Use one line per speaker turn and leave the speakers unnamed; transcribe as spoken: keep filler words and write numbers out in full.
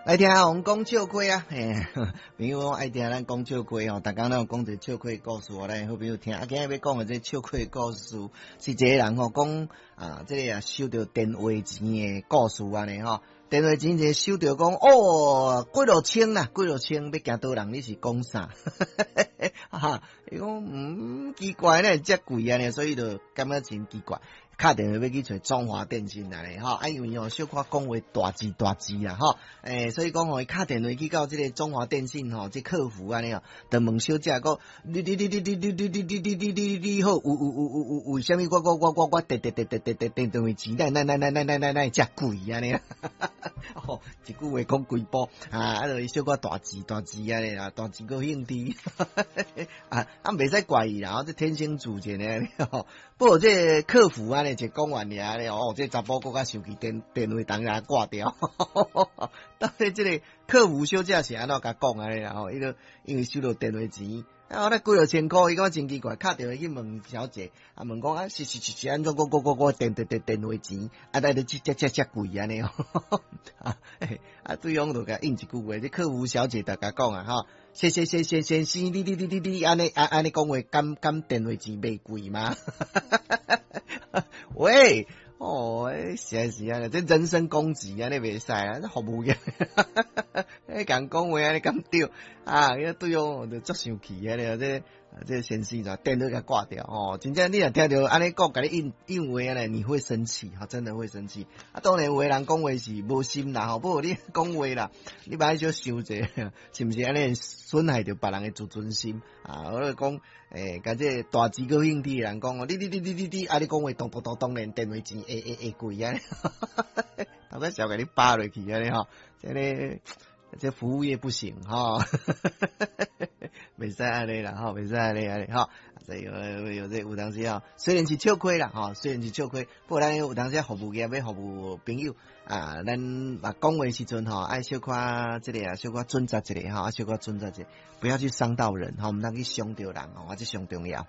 來聽阿紅講笑話啊！嘿，朋友講愛聽咱講笑話吼，逐工攏有講一個笑話故事，予咱好朋友聽。啊，今日欲講的這個笑話故事，是一個人吼講啊，這個啊收著電話錢的故事按呢吼。電話錢一收著講哦，幾落千啦，幾落千欲行佗人，你是講啥？哈，伊講嗯奇怪呢，遮貴按呢，所以就感覺真奇怪。敲電話欲去揣中華電信按呢吼，啊因為吼小可講話大字大字啊吼，欸，所以講吼伊敲電話去到這個中華電信吼，這客服按呢哦，就問小姐講，你你你你你你你你你你你你你好，有有有有有為啥物我我我我我電電電電電電電電話錢，哪哪哪哪哪哪哪遮貴按呢？吼，一句話講規晡啊，啊，就小可大字大字按呢啦，大字閣興致，啊啊，袂使怪伊啦，這天生自賤的吼。不過這個客服按呢一講完爾咧，哦，這查埔閣較生氣，電電話當然掛掉。到底這個客服小姐是按怎共講按呢啦？吼，伊就因為收著電話錢，啊，我咧幾落千箍，伊感覺真奇怪，敲電話去問小姐，啊，問講啊，是是是是按怎？我我我我電電電電話錢，啊，來遮遮遮遮貴按呢？啊，啊，對方就共應一句話，這客服小姐就共講啊，吼，先先先先先生，你你你你你按呢按按呢講話，敢敢電話錢袂貴嗎？喂，哦，是啊是啊，這人身攻擊按呢袂使啊，這服務業，欸，共講話按呢敢對啊？彼對方就足生氣按呢，這這先生就電話共掛掉哦。真正你若聽著按呢講，共你應應話按呢，你會生氣，哈，真的會生氣。啊，當然有的人講話是無心啦，吼，不過你講話啦，你愛小想者，是毋是按呢損害著別人的自尊心啊？我咧講，欸，共這個大字閣興致的人講哦，你你你你你你，啊，你講話當當當當然電話錢會會會貴按呢，頭家小共你扒落去按呢吼，這个這服務業不行吼，袂使按呢啦吼，袂使按呢按呢吼，所以有有這有當時吼，雖然是笑話啦吼，雖然是笑話，不過咱有當時服務業欲服務朋友啊，咱嘛講話時陣吼，愛小可這個啊，小可準則一下吼，小可準則一下，不要去傷到人吼，毋通去傷著人吼，這上重要。